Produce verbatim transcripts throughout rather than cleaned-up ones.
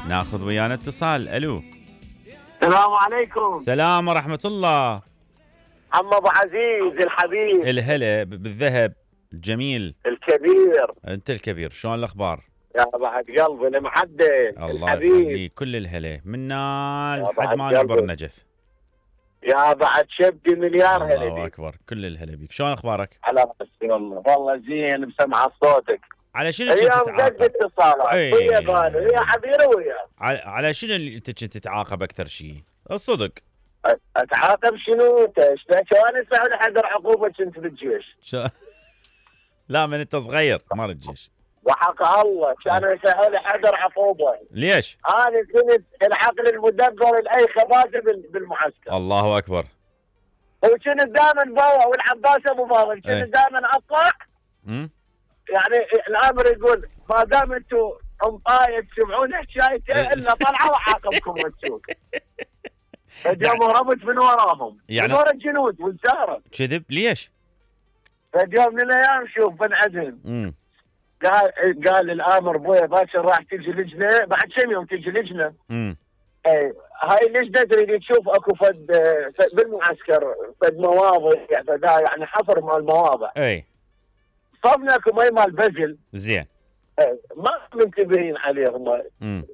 ناخذ ويانا اتصال. الو السلام عليكم. سلام ورحمة الله. عم ابو عزيز الحبيب. الهلا بالذهب الجميل الكبير. انت الكبير، شلون الاخبار؟ يا بعد قلبي المعدل الله الحبيب. يخليك، كل الهلا منا لحد بعد ما نبر قلبي. نجف. يا بعد شبدي مليار هلا الله بيك. اكبر، كل الهلا بيك. شلون اخبارك؟ على راسي والله، والله زين بسمع صوتك. على شنو كنت اليوم قد تتعاقب؟ اتصالات اي. ويا قالوا يا حبيبي ويا. على, على شنو اللي انت كنت تتعاقب اكثر شيء؟ الصدق. أ- اتعاقب شنو انت؟ شلون اسمع لحد عقوبه كنت بالجيش؟ شو... لا من انت صغير ما الجيش. وحق الله كانوا يسهلوا حذر عقوبه. ليش؟ انا كنت العقل المدبر لاي خباثه بال- بالمعسكر. الله اكبر. وكنت دائما بابا والعباس ابو فاضل كنت ايه. دائما اطلع. امم يعني الامر يقول ما دام انتم امطايه تسمعون حكايته الا طلعوا وعاقبكم وتشوف. فاليوم هربت من وراهم يعني- من ورا الجنود والزهره. كذب ليش؟ فاليوم من الايام شوف بنعدهم امم قال قال الامر بويا باكر راح تجي لجنه بعد كم يوم تجي لجنه. امم اي هاي اللجنه تريد تشوف اكو فد فد بالمعسكر فد مواضع يعني فدا يعني حفر مال مواضع. اي صبنا اكو مي مال بزل. زين. إيه، ما منتبهين عليهم. امم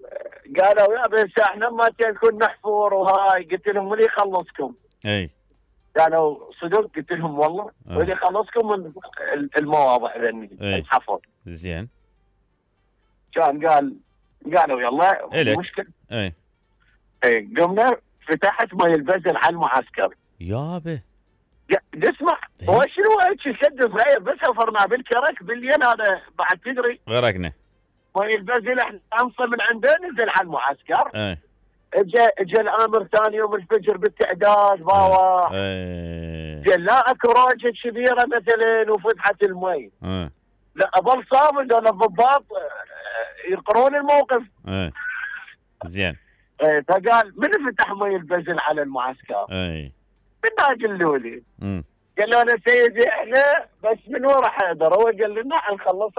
قالوا يا بس احنا ما نكون نحفر وهاي. قلت لهم من يخلصكم؟ اي قالوا صدق. قلت لهم والله آه. من يخلصكم من المواضع ذني إيه. الحفر. زين. كان قال قالوا يلا إلك. مشكله. اي اي قمنا فتحت مي البزل على المعسكر. يابا. يا- اسمع إيه. هو شنو هيك شد صغير بس حفرنا بالكرك بالليل هذا بعد تدري غرقنا. مي البزل احنا انصى من عنده نزل على المعسكر. اي اجى اجى الامر ثاني يوم الفجر بالتعداد باوا. اي قال لا اكو روجه كبيره مثلا وفتحت المي. اي لا اظل صامد ولا الضباط آه، يقرون الموقف. اي زين. آه، فقال من فتح مي البزل على المعسكر؟ اي من قالوا لي؟ امم قال له انا سيدي احنا بس من ورا حيدر. هو قال لنا نخلص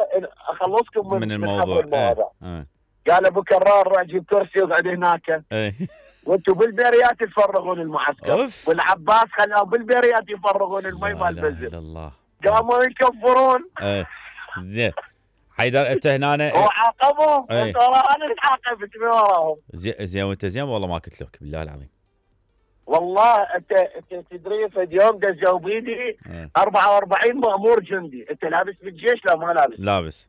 اخلصكم من من من الموضوع. حفر المواضع. اي قال ابو كرار روح جيب كرسي واقعد هناك اي وانتم بالبريات تفرغون المعسكر. اوف. والعباس خلاهم بالبريات يفرغون المي لا مال اله البزل. الا الله. قاموا يكفرون اي زين. حيدر انت هنا وعاقبهم. إيه. انت ورا انا اللي عاقبت من وراهم. زين زين وانت زين والله ما كتلوك بالله العظيم. والله انت انت تدري في اليوم دزوا بيدي اي أربعة وأربعين مأمور جندي. انت لابس بالجيش لا ما لابس؟ لابس.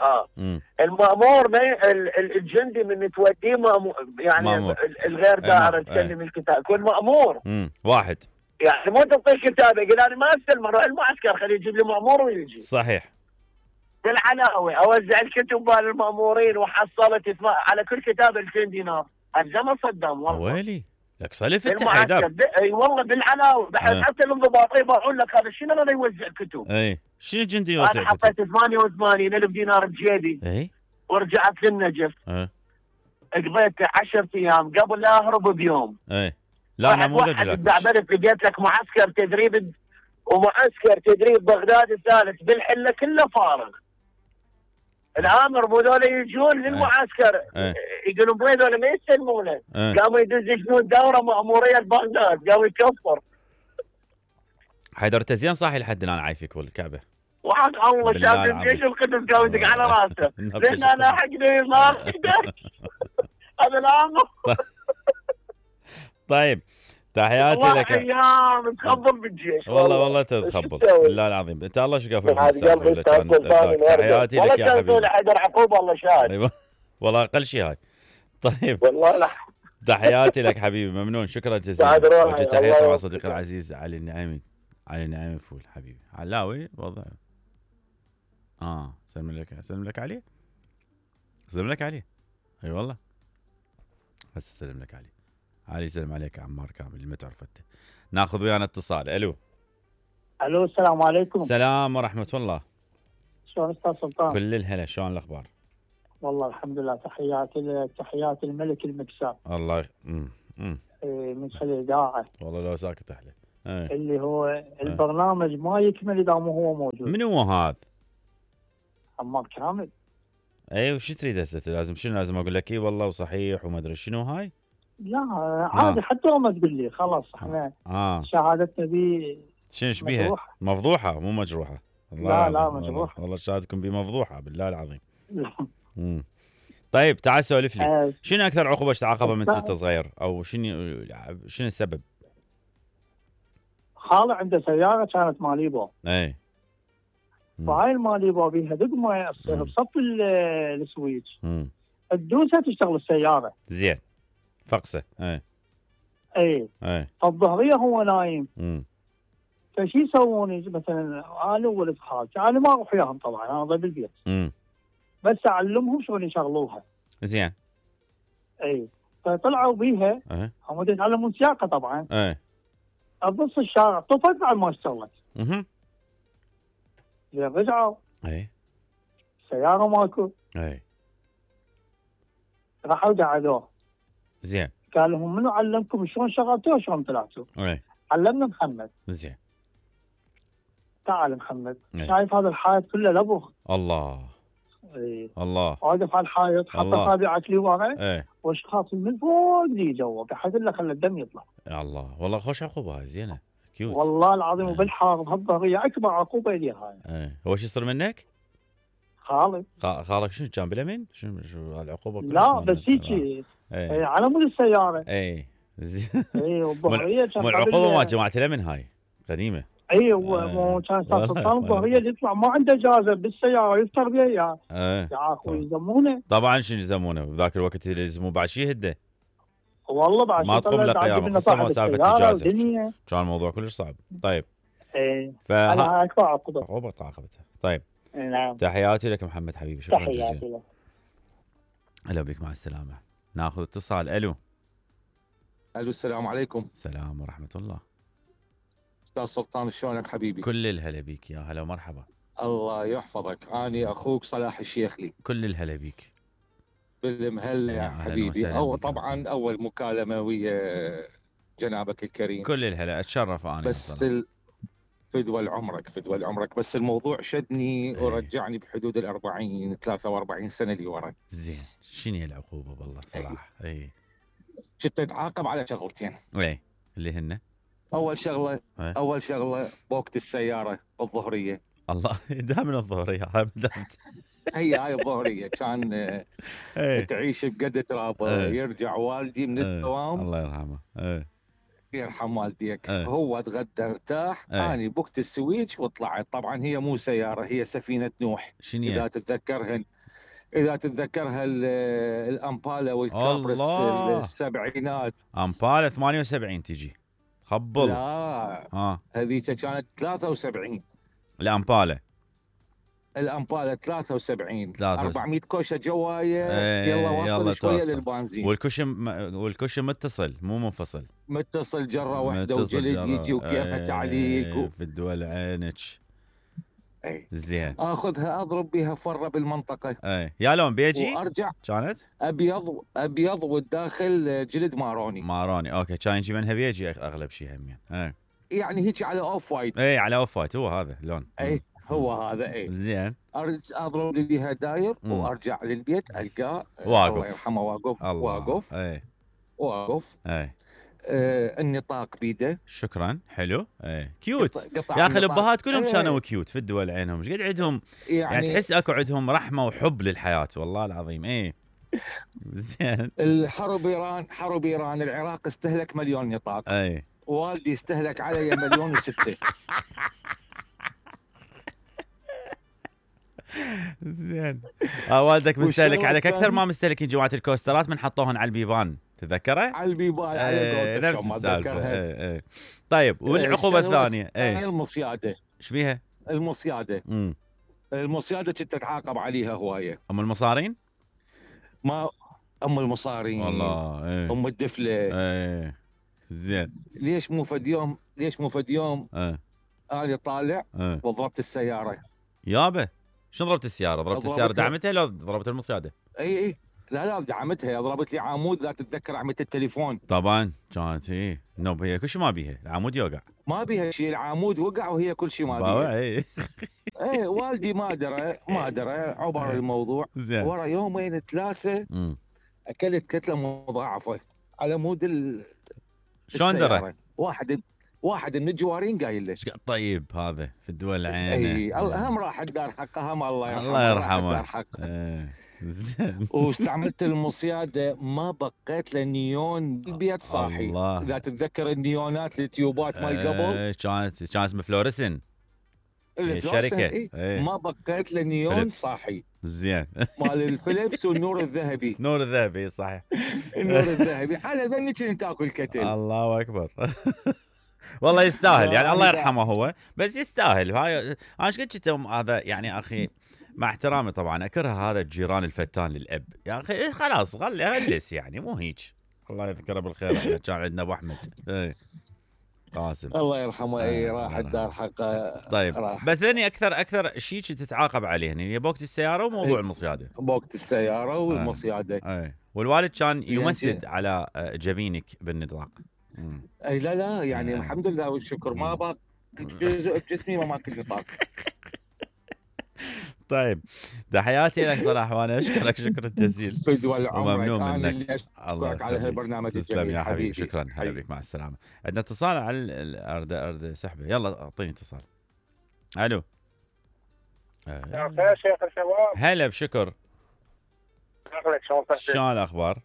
اه امم المأمور ما ي- ال- ال- الجندي من توديه مأمور يعني مأمور. ال- الغير إيه، دائره مأمور. تسلم الكتاب يكون مأمور. امم واحد. يعني مو تعطيه كتابه يقول انا ما استلم اروح المعسكر خليه يجيب لي مأمور ويجي. صحيح. بالعلاوه اوزع الكتب مال المأمورين وحصلت اثما- على كل كتاب ألفين دينار. الزمن صدام والله. ويلي لك صلف انت بالمعسكر حيدر. ب- اي والله بالعلاوه بحيث إيه. حتى الانضباطي يبيعون لك هذا شنو انا يوزع كتب. اي شنو جندي انا يوزع كتب؟ حطيت ثمانية وثمانين ألف دينار بجيبي اي ورجعت للنجف. اي قضيت عشرة ايام قبل لا اهرب بيوم. اي لا واحد نموذج واحد لك. استعبدت لقيت لك معسكر تدريب ومعسكر تدريب بغداد الثالث بالحله كله فارغ. الامر مو ذولا يجون للمعسكر إيه. يقولون بوين ذولا ما يستلمونه. إيه. قاموا يدز جنود دوره ماموريه بغداد قاموا يكفر. حيدر انت زين صاحي لحد الان عايفك والكعبه. وحق الله بالله شاب العظيم. الجيش القدس قام يدق على راسه. نبتش. لان انا حقني صار هذا الامر. طيب تحياتي والله لك. ايام تخبل بالجيش والله والله تتخبل بالله العظيم. انت الله شقافك بالسالفه. تحياتي لك يا والله حبيبي. كان حيدر عقوبه الله شاهد. ايوه والله اقل شيء هاي. طيب والله لا تحياتي لك حبيبي ممنون شكرا جزيلا. بعد روحي. وجه الله تحياتي مع يوفقك. صديقي العزيز علي النعيمي. علي النعيمي فول حبيبي. علاوي وضع اه سلم لك سلم لك عليه. سلم لك عليه. اي والله بس سلم لك عليه. علي سلم عليك عمار كامل اللي ما تعرف انت. ناخذ ويانا اتصال. الو الو السلام عليكم. سلام ورحمه الله. شلون استاذ سلطان؟ كل الهلا شلون الاخبار؟ والله الحمد لله. تحياتي لك تحيات الملك المكساب. الله ي... مم. مم. إيه، من خلال الاذاعه والله لو ساكت احلى. ايه. اللي هو البرنامج ما يكمل اذا مو هو موجود. من هو هذا؟ عمار كامل. اي وش تريد هسه لازم شنو لازم اقول لك اي والله وصحيح وما ادري شنو هاي؟ لا عادي حتى لو ما تقول لي خلاص احنا اه شهادتنا بي شنو ايش بيها؟ مجروحة. مفضوحه مو مجروحه. الله لا لا العظيم، مجروحة. والله, والله شهادتكم بي مفضوحه بالله العظيم. امم طيب تعال سولف لي آه، شنو اكثر عقوبه تعاقبها من بس- انت صغير او شنو شنو السبب؟ خالي عنده سيارة كانت ماليبو، اي مم. فهاي الماليبو بيها دقمة مم. بصف ال- السويتش امم تدوسها تشتغل السيارة. زين فقسه اي اي اي فالظهرية هو نايم، امم فشي يسوون مثلا انا وولد خالتي، انا ما اروح وياهم طبعا انا ضل بالبيت، امم بس اعلمهم شلون يشغلوها. زين اي فطلعوا بيها اي هم يتعلمون سياقه طبعا، اي بنص الشارع طفت بعد ما اشتغلت، اها زين رجعوا اي السياره ماكو، اي راحوا قعدوه زين قال لهم منو علمكم شلون شغلتوه شلون طلعتوا؟ اي علمنا محمد. زين تعال محمد، إيه. شايف هذا الحائط كله لبخ؟ الله اي الله واقف على الحائط حط الله. اصابعك لي ورا اي واشخاص من فوق لي جوا بحيث له خلى الدم يطلع. يا الله والله خوش عقوبه هاي زينه كيوت. والله العظيم إيه. وبالحار بهالظهريه اكبر عقوبه لي هاي. اي هو شو يصير منك؟ خالي خا- خالك شنو كان باليمين؟ شنو شو العقوبه؟ كلش لا مالها. بس هيجي اي إيه، على مود السياره. اي زين اي والظهريه كان مو قبل- العقوبه مال جماعه اليمن هاي قديمه. اي إيه. وكان استاذ والله- سلطان الظهريه اللي يطلع ما عنده اجازه بالسياره يفطر بها يا ايه يا اخوي يلزمونه. طبعا شنو يلزمونه بذاك الوقت اللي يلزموه بعد شي هده والله بعد ما شي تقوم طلع له بعد قيامة، جبنا خصوصاً صاحب ما سالفة السيارة إجازة. ودنيا. كان الموضوع كلش صعب. طيب اي فها انا اكبر عقبه. عقوبه تعاقبتها. طيب نعم تحياتي لك محمد حبيبي شكرا جزيلا. تحياتي لك. هلا بك مع السلامه. ناخذ اتصال. الو الو السلام عليكم السلام ورحمه الله. استاذ سلطان شلونك حبيبي؟ كل الهلا بيك يا هلا ومرحبا. الله يحفظك، اني اخوك صلاح الشيخلي كل الهلا بيك. بالمهله يا يا أهلاً حبيبي. وسهلاً او بك يا طبعا وسهلاً. اول مكالمه ويا جنابك الكريم. كل الهلا اتشرف انا بس بصراحة. ال... فدوى عمرك فدوى عمرك بس الموضوع شدني إيه. ورجعني بحدود ال أربعين ثلاثة وأربعين سنه اللي ورا. زين شنو هي العقوبه والله صراحه؟ اي كنت اتعاقب على شغلتين. اي اللي هن اول شغله إيه. اول شغله بوقت السياره الظهريه. الله دائما الظهريه هاي بدأت. هي هاي الظهريه كان آه، ايه تعيش بقد تراب. إيه. يرجع والدي من إيه. الدوام الله يرحمه. ايه يرحم والديك. إيه. هو تغدى ارتاح. إيه. اني بوقت السويتش وطلعت. طبعا هي مو سياره، هي سفينه نوح. شنو اذا هي؟ تتذكرها اذا تتذكرها ال- الامبالا والكابرس الله. السبعينات. امبالا ثمانية وسبعين تجي خبل. لا اه هذيك كانت ثلاثة وسبعين. الامبالا الامبالا ثلاثة وسبعين ثلاثة وس- أربعمية كوشه جوايه. إيه، يلا وصل يلا شويه توصل. للبنزين. والكشم والكشم متصل مو منفصل. متصل جره واحده متصل وجلد جرى. يجي وكيفها إيه، تعليق و... في الدول عينك. أي. زين اخذها اضرب بها فره بالمنطقه ايه يا لون بيجي وارجع كانت ابيض ابيض والداخل جلد ماروني. ماروني. اوكي كان يجي منها بيجي اغلب شيء همين. ايه يعني هيك على اوف وايت. ايه على اوف وايت هو هذا اللون. اي هو هذا. اي زين ارجع اضرب لي بها داير مم. وارجع للبيت القاه واقف. الله يرحمه واقف الله واقف ايه واقف. ايه آه النطاق بيده. شكرا حلو. ايه كيوت قطع- قطع يا اخي النطاق. الابهات كلهم إيه، كانوا كيوت في الدول عينهم ايش قد عندهم يعني, يعني, تحس اكو عندهم رحمه وحب للحياه والله العظيم. ايه زين الحرب ايران حرب ايران العراق استهلك مليون نطاق. ايه والدي استهلك علي مليون وستة. زين اه والدك مستهلك والشغلة عليك اكثر الثانية- ما مستهلكين جماعه الكوسترات من حطوهن على البيبان تتذكره؟ على البيبان على ايه قولتك نفس ما السالفه. أتذكرها. ايه ايه طيب والعقوبه الشغلة الثانيه ايه المصياده. ايش بيها؟ المصياده امم المصياده كنت اتعاقب عليها هوايه. ام المصارين؟ ما ام المصارين والله ايه ام الدفله. ايه زين ليش مو فد يوم ليش مو فد يوم ايه انا طالع ايه وضربت السياره. يابا شنو ضربت السياره؟ ضربت السياره ضربتها. دعمتها لو ضربت المصياده؟ اي اي لا لا دعمتها، ضربت لي عمود لا تتذكر عملت التليفون. طبعا كانت ايه نوب هي كل شيء ما بيها، العمود يوقع. ما بيها شيء، العمود وقع وهي كل شيء ما باوع بيها. ايه ايه والدي ما درى ما درى عبر الموضوع. زين. ورا يومين ثلاثه امم اكلت كتله مضاعفه على مود ال شلون درى؟ السيارة. واحد واحد من الجوارين قايل له. ايش قد طيب هذا في الدول العينه. اي الله هم راح الدار حقه، هم الله يرحمه. الله راح يرحمه. الدار حقه. ايه زين. واستعملت المصياده ما بقيت له نيون بالبيت صاحي. الله. اذا تتذكر النيونات التيوبات مال قبل ايه كانت كان اسمه فلوريسن. الفلوسن، الشركة. إيه. إيه. ما بقيت له نيون فيليبس. صاحي زين. مال الفليبس والنور الذهبي. نور الذهبي صحيح. النور الذهبي على ذنك انت تاكل كتل. الله اكبر. والله يستاهل يعني، الله والله. يرحمه هو، بس يستاهل. هاي انا ايش قلت كنت هذا يعني اخي، مع احترامي طبعا اكره هذا الجيران الفتان للاب يا اخي. إيه خلاص غل غلس يعني، مو هيك. الله يذكره بالخير. كان عندنا ابو احمد ايه قاسم. الله يرحمه. اي آه، راح الله الدار حقه. طيب راح. بس لاني اكثر اكثر شيء كنت تتعاقب عليه هنا هي بوقت السياره وموضوع إيه. المصياده. بوقت السياره والمصياده. اي والوالد كان يعني يمسد شي- على آه، جبينك بالنطاق. مم. اي لا لا يعني آه. الحمد لله والشكر ما مم. باق جزء بجسمي ما ماكل نطاق. طيب تحياتي لك صلاح، وانا اشكرك شكرا جزيلا فدوى وممنون عمرك. انا منك. اللي الله اشكرك على يخليك. هالبرنامج تسلم الجميل يا حبيبي. حبيبي. شكرا. هلا حبيبي. بك، مع السلامه. عندنا اتصال على الارض ارض سحبه. يلا اعطيني اتصال. الو. مساء الخير شيخ الشباب. هلا بشكر. شكلك شلون تحسن؟ شلون الاخبار؟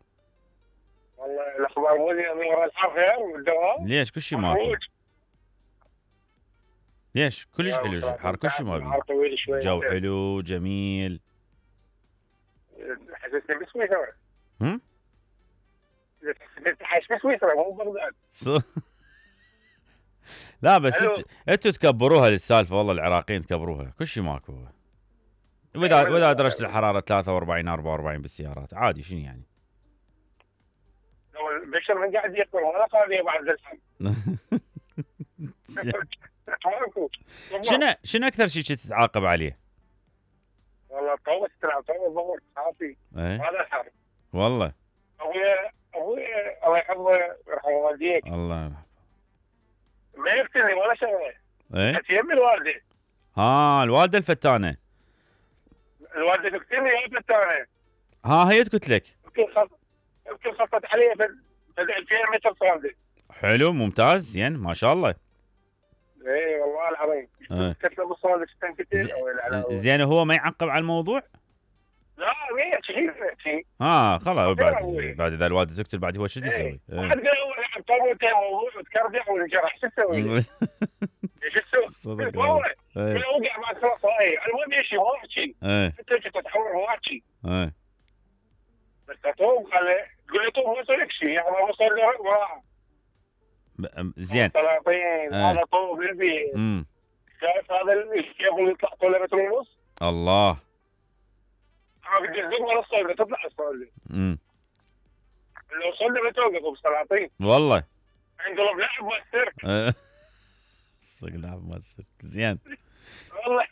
والله الاخبار مو زين، امور الحر خير والدوام. ليش كل شيء ماكو؟ ليش كلش حلو الحر، كل شيء ما النهار طويل شوي. جو حلو جميل. حسسني بسويسرا. هم؟ انت عايش بسويسرا مو بغداد. لا بس ألو. انتوا انتوا تكبروها للسالفه، والله العراقيين تكبروها، كل شيء ماكو. واذا أيوة. واذا درجه الحراره ثلاثة وأربعين أربعة وأربعين بالسيارات عادي، شنو يعني؟ لو البشر من قاعد يقول ولا قاعد بعد الحين. شنو شنو اكثر شيء كنت تتعاقب عليه؟ والله طوت تلعب طوت ضغط صافي. ايه هذا الحر. والله ابويا ابويا الله يحفظه يرحم والديك الله يرحمه. ما يقتلني ولا شغله. ايه كانت يمي الوالده. ها الوالده الفتانه. الوالده تقتلني يا فتانه. ها هي قلت لك. يمكن خط يمكن خطت علي في ألفين متر صامده. حلو ممتاز زين ما شاء الله. اي والله العظيم. إيه. كتله بالصالة تنكتل او العلاوه. زين هو ما يعقب على الموضوع؟ لا مية شيء شيء. ها خلاص بعد أبوي. بعد اذا الوالده تقتل بعد هو شو يسوي؟ إيه. إيه. واحد قال هو لعب طاولتين وتكرجع وانجرح شو تسوي؟ شو تسوي؟ صدق والله والله. ايه كله وقع بعد ثلاث دقائق، المهم يمشي ما احكي، ايه انت كنت تحاول ما احكي، ايه بس تطوم خلي تقول لي طوم ما يصير لك شيء، يعني ما وصل له وراح. ب- زين. سلاطين إيه. هذا طوم بالبيت، امم شايف هذا الشيخ يطلع طوله متر ونص؟ الله. عارف الجزء ولا الصوله تطلع الصوله، امم لو صوله بتوقف بسلاطين، والله. انقلب لاعب مال السيرك، إيه. صدق لعب ما تصير. زين. والله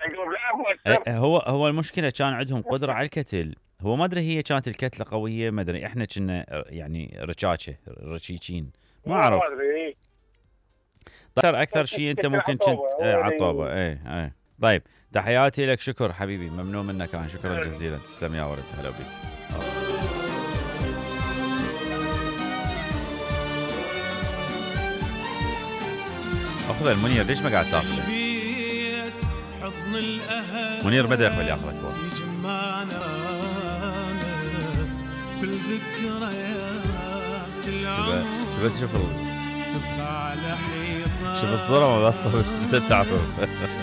انقلب لاعب مال إيه، السيرك. هو هو المشكله كان عندهم قدره على الكتل. هو ما ادري هي كانت الكتله قويه، ما ادري احنا كنا يعني رشاشه رشيشين ما اعرف. ما ادري. اكثر اكثر شيء انت ممكن كنت عطوبة. ايه عطوبه. ايه ايه طيب تحياتي لك. شكر حبيبي، ممنون منك انا. شكرا جزيلا. تسلم يا ولد. هلا بك. اخذ المنير، ليش ما قاعد تاخذه؟ منير بدا يقبل ياخذك هو. بس شوف ال... شوف الصورة ما بتصور. تعرف